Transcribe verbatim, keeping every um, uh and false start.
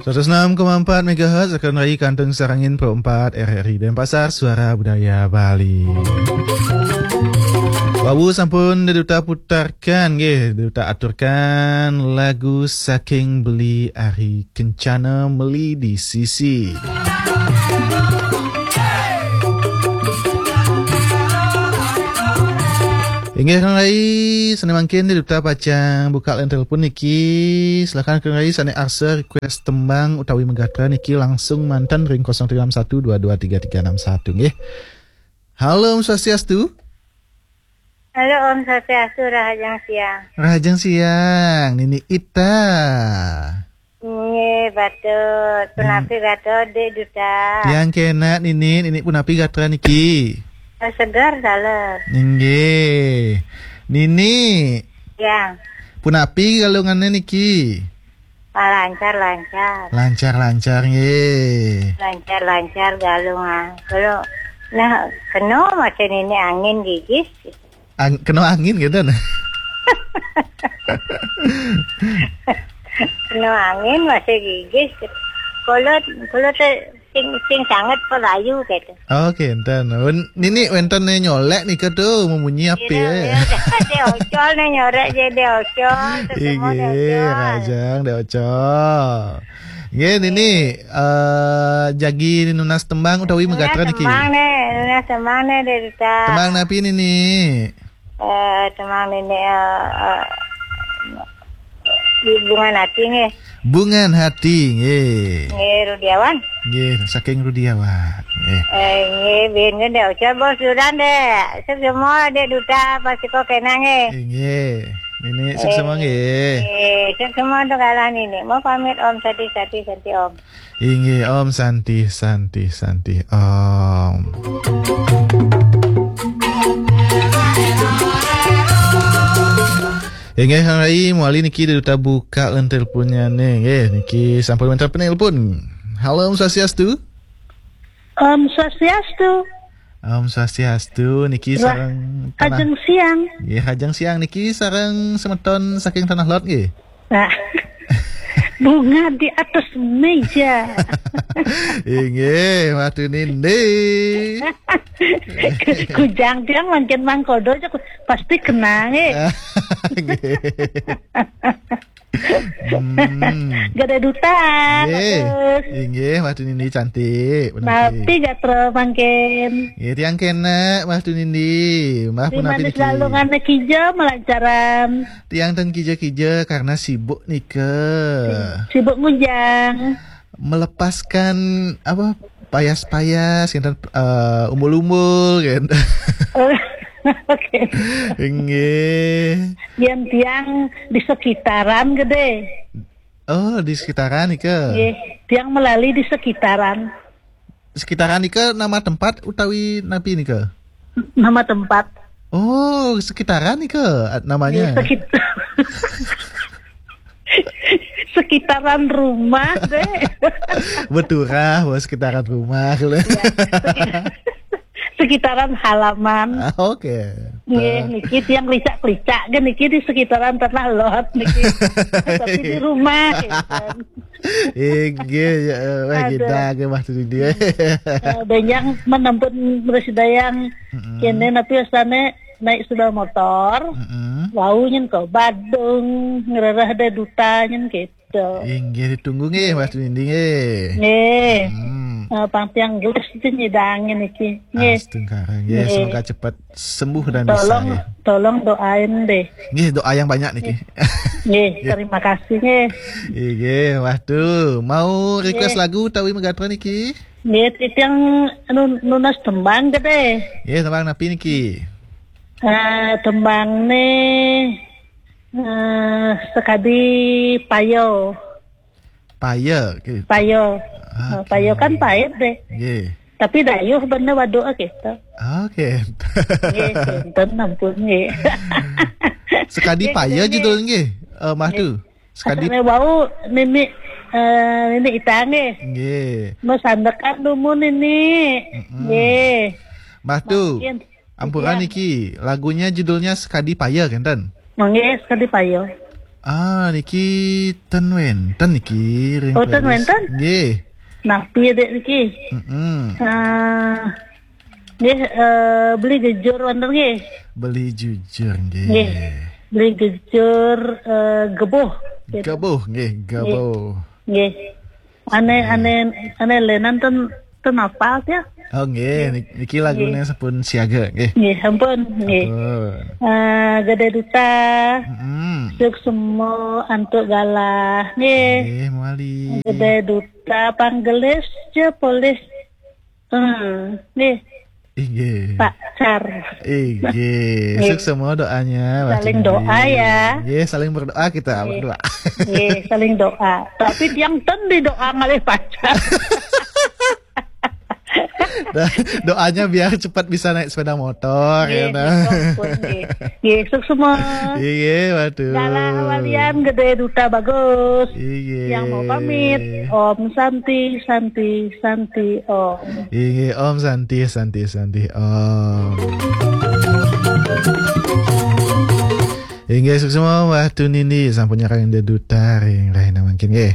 Seratus enam koma empat megahertz, Akun Rai Kantung Sarangin Pro empat R R I Denpasar, Suara Budaya Bali. Wau sampun Dek Duta putarkan, nggih, Dek Duta aturkan lagu saking Beli Ari Kencana, Meli di Sisi. Inggih, Kang Rai, sane mangkin Dek Duta pacang buka line telepon niki. Silakan Kang Rai, sane arsa request tembang utawi megatra niki langsung manten ring kosong tiga enam satu dua dua tiga tiga enam satu, nggih. Halo, Om Swastiastu. Halo, Om Swastiastu, Rahajeng Siang. Rahajeng Siang, Nini Ita. Nggih, patut. Hmm. Punapi gatra, Dek Duta? Tiang kenak, Nini. Nini punapi gatra niki? Oh, segar, taler. Inggih. Nini. Ya. Punapi galungane niki? Ah, lancar, lancar. Lancar, lancar, nggih. Lancar, lancar galung, ah. Kalau, nah, kena macam ini angin gigis. Ang-, kena angin gitu, nah. Kena angin masih gigis. Kalau, kalau te-, sing, sing sangat pelayu gitu. Oke, enten. Wen-, nini wenten ne nyolek nika tu, memunyi api, Iya, eh. Iya, Dek Ocol ne nyorek je, Dek Ocol. Semua Dek Inggih, Ocol. Rahajeng, Dek Ocol. Nggih, Nini, eh, jagi nunas tembang utawi megatra niki? Nunas tembang ne, nunas tembang ne, Dek Duta. Tembang napi, Nini? Eh, tembang Nini, eh, eh, Bungan Hati nggih. Bungan Hati, nggih. Nggih, Rudiawan. Nggih, saking Rudiawan. Nggih. Eh, nggih, bin nggih, Dek Ocol bos duran, Dek. Sukses semua, Dek Duta, pasti kok kena nggih. Nggih. Nini, sukses semua, nggih. Eh, sukses semua untuk kalian ini. Mau pamit, Om Santi, Santi, Santi, Om. Inggih, Om Santi, Santi, Santi, Om. Inggih, Kang Rai, mawali niki Dek Duta buka len teleponnya nih. Nggih, niki sampun wenten penelpon. Halo, Om Swastiastu. Om Swastiastu. Om Swastiastu, niki Ra-, sareng Tanah. Rahajeng Siang. Nggih, Rahajeng Siang niki sareng semeton saking Tanah Lot nggih. Nah. Bunga di atas meja. Inggih, Mah Tunindi. Kujang tiang mangkin mangkodo aja ku-, pasti kena nggih. Nggih. Hmm. Gede Duta, nggih. Bagus. Inggih, Mah Tunindi cantik, bener. Napi gatra mangkin? Nggih, tiang kenak, Mah Tunindi. Mbah punapi niki? Di manis lalungane kija melancaran. Tiang ten kija-kija karena sibuk nika. Sibuk ngujang. Melepaskan, apa, payas-payas, kinten, eh, umbul-umbul, kinten. Oh, oke. Inggih. Yen tiang di sekitaran gede. Oh, di sekitaran nika. Nggih, tiang melali di sekitaran. Sekitaran nika nama tempat utawi napi nika? Nama tempat. Oh, sekitaran nika namanya. Nggih, sekit-, sekitaran rumah, deh. Beturah, bos, sekitaran rumah. Iya, sekit-, sekitaran halaman. Ah, oke. Nggih, niki tiang licak-licak ge niki di sekitaran Tanah Lot niki. Tapi di rumah, ya kan. Inggih, ya, wah, aduh. Kita ke Mah Tunindi. Eh, benjang menempun bersih dayang. Mm-mm. Kene napi asane naik sepeda motor. Mm-mm. Wau nyen ke Badung, ngerereh Dek Duta nyen gitu. Inggih, ditunggu nggih, Mah Tunindi nggih. Nggih. Hmm. Eh, pang tiang gelis itu nyidangin iki. Nggih. Astungkara, nggih, nggih. Semoga cepat sembuh dan bisa, tolong, nggih. Tolong doain deh. Nggih, doa yang banyak niki. Nggih, nggih. Terima kasih, nggih. Nggih, waduh, mau request lagu utawi megatra niki? Nggih, titiang nun-, nunas tembang gede. Nggih, tembang napi niki? Eh, tembang nih, eh, sekadi payo. Payo, gitu. Payo. Oke. Eh, payo kan pahit deh. Nggih. Tapi dayuh bener waduk gitu. Oke. Nggih, kinten ampun nggih. Sekadi payo nggih. Judul nggih, eh, Mah Tu. Nggih. Sekadi asale wau nini, eh, nini Ita nggih. Nggih. Mau sandekan dumun nini. Mm-mm. Nggih. Mah Tu. Mungkin. Ampura niki, lagunya judulnya Sekadi Payo, kinten? Nggih, Sekadi Payo. Ah, niki ten wenten niki ring Oh, ten playlist. Wenten? Nggih. Nah, piye dek niki? Mm-mm. Ah, nggih, eh, beli gejur wonten nggih. Beli jujur nggih. Nggih. Beli gejur, eh, gebuh. Gitu. Gebuh nggih, gebuh. Nggih. Ane, ane, ane lenan ten, ten apa ya? Oh nggih, nik- niki lagune sampun siaga nggih. Nggih, sampun, nggih. Sampun. Eh, Gede Duta, Mm-mm. Suksemo, Antuk Galah, nggih. Nggih, mali. Gede Duta, Panggelis, je polih. Hmm, nggih. Inggih. Pacar. Inggih. Nggih. Suksemo doanya, Mbak Saling Cindy. Doa ya. Nggih, saling berdoa kita Nggih. Berdua. Nggih, saling doa. Tapi tiang ten di doa ngalih pacar. Dah, doanya biar cepat bisa naik sepeda motor, Nggih, ya, nah. Nggih, ampun, nggih. Nggih, suksemo. Inggih, waduh. Galah walian Gede Duta bagus. Inggih. Yang mau pamit, Om Santi, Santi, Santi, Om. Inggih, Om Santi, Santi, Santi, Om. Inggih, suksema Mbah Tunindi sampun nyarengin Gede Duta ring rahina mangkin nggih.